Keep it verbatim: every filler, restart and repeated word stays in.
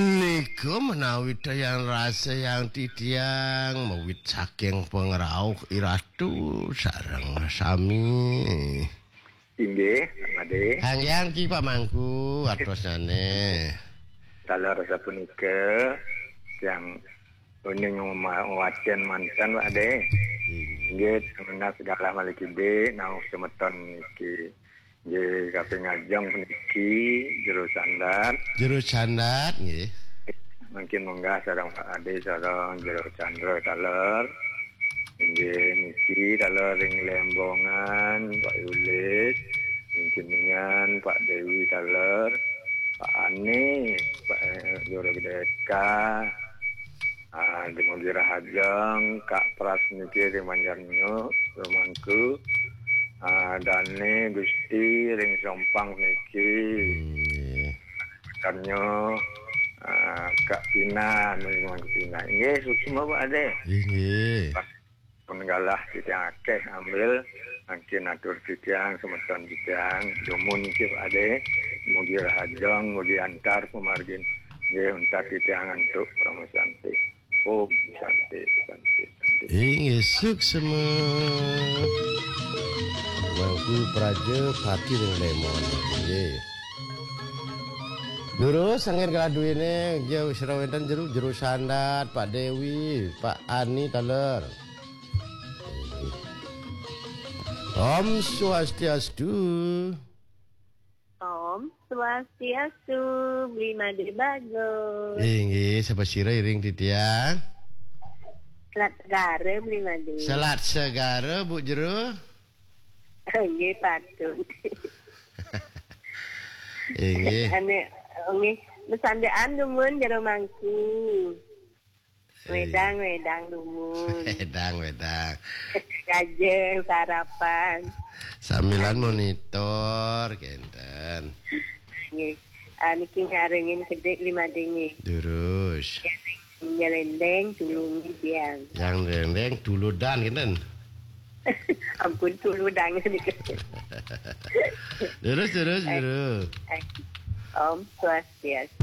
Nika menawi tiyang rasa yang titiang mawit saking pangrauh iratu sareng sami. Inggih, Pak Made. Hangyang ki Pak Mangku, artosnane. Taler sapunika, tiyang uning ma-, wacen manten, Pak De. Inggih. Inggih, semenas galah malih kide, nauh semeton niki. Nggih, kaping ajeng puniki Jero Sandat. Jero Sandat, nggih. Mungkin munggah sareng Pak Ade, sareng Jero Chandra taler. Inggih, niki taler ring Lembongan, Pak Yulis. Ring Kuningan, Pak Dewi taler. Pak Ani, Pak, eh, Jero Gedeka. Ah, dumugi rahajeng, Kak Pras niki ring Banjarnyo, rumangku. Ah, Dane Gusti ring Sompang niki. Nggih. Banjarnyo, ah, Kak Tina, ring rumangku Tina. Nggih, suksma, Pak Ade. Nggih, nggih. Pun galah titiang akeh ambil, mangkin atur titiang, semeton titiang, dumun niki, Pak Ade. Mugi rahajeng, mugi antar pamargin. Nggih, untat titiang antuk, Parama Santi. Om Santi, Santi, Santi. Inggih, suksma. Mangku Praja Pati ring Lemon. Nggih. Durus, sanggen galah duwene, nggih, sira wenten Jero, Jero Sandat, Pak Dewi, Pak Ani taler. Om Swastiastu. Om Swastiastu, Bli Made Bagus. Inggih, sapa sira iring titiang? Selat Segara, Bli Made. Selat Segara, Bu Jero? Nggih, patut. Inggih. Ane, nggih, besandean dumun Jero Mangku. Wedang, wedang dumun. Wedang, wedang. Kajeng sarapan. Sambilan monitor, kenten. Nggih. Ah, niki nyarengin kedik lima dengi. Durus. Nyelendeng tulungin tiang. Yang nyelendeng tuludan, kenten. Ampun, tuludan sedikit. Durus, durus, durus. Om Swastiastu.